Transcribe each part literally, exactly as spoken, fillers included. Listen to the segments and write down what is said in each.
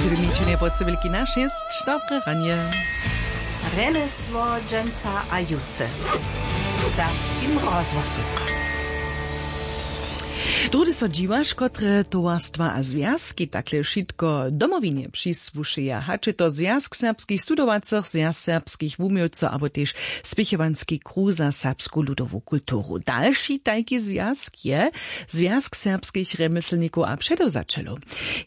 Dyrmičenje po cywilki na šěsć. Dobre ranje. Rjemjesło dźensa a jutře w serbskim rozhłosu. Druhdy so dźiwaš, kotre towarstwa a zwjazki takle wšitko Domowinje přisłušeja, hač je to Zwjazk serbskich studowacych, Zwjazk serbskich wuměłcow abo tež Spěchowanski kruh za serbsku ludowu kulturu. Dalši tajki zwjazk je Zwjazk serbskich rjemjeslnikow a předewzaćelow.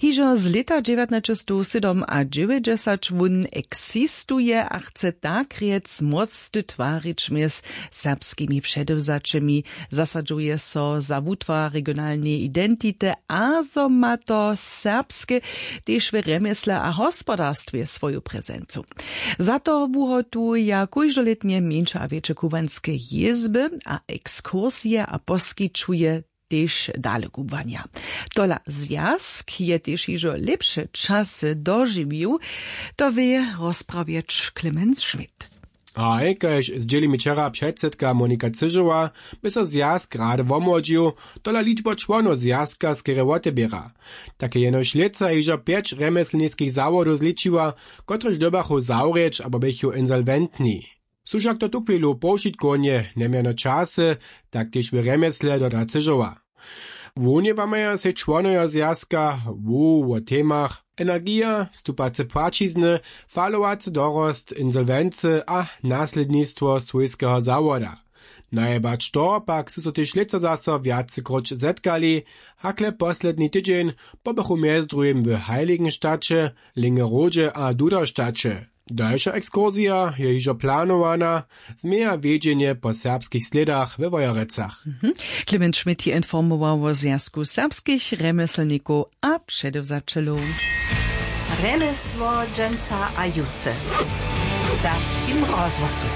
Hižo z lěta dźewjatnaćestowsydomadźewjećdźesat wón eksistuje a chce tak rjec młócty twarić mjez serbskimi předewzaćemi. Zasadźuje so za wutwar regionalneje identity a zo ma to serbske tež w rjemjesle a hospodarstwje swoju prezencu. Za to wuhotuja kóždolětnje mjeńše a wjetše kubłanske jězby a ekskursije a poskićuje tež dalekubłanja. Tola zwjazk je tež hižo lěpše časy dožiwił. To wě rozprawjeć Clemens Schmidt. Haj, kaž zdźěli mi wčera předsydka Monika Cyžowa, by so zwjazk rady womłodźił, tola ličba čłonow zwjazka skerje woteběra. Tak je jenož lětsa hižo pjeć rjemjeslniskich zawodow zličiła, kotrež dyrbachu zawrěć abo běchu insolwentni. Su wšak to tuchwilu powšitkownje njemjerne časy, tak tež w rjemjesle, doda Cyžowa. Wunjewamaja sej čłonojo zwjazka wu wo temach energija, stupace płaćizny, falowacy dorost insolwency a naslědnistwo swójskeho zawoda. Najebać to pak su so tež lětsa zaso wjacykróć zetkali, hakle posledni tydźeń pobychu mjez druhim w Heiligenstadće, Lingerodźe a Duderstadće. Dalša ekskursija je hižo planowana, změja wjedźenje po serbskich slědach we Wojerecach. Clement Schmidt je informował wo Zwjazku serbskich rjemjeslnikow a předewzaćelow. Rjemjesło dźensa a jutře w serbskim rozhłosu.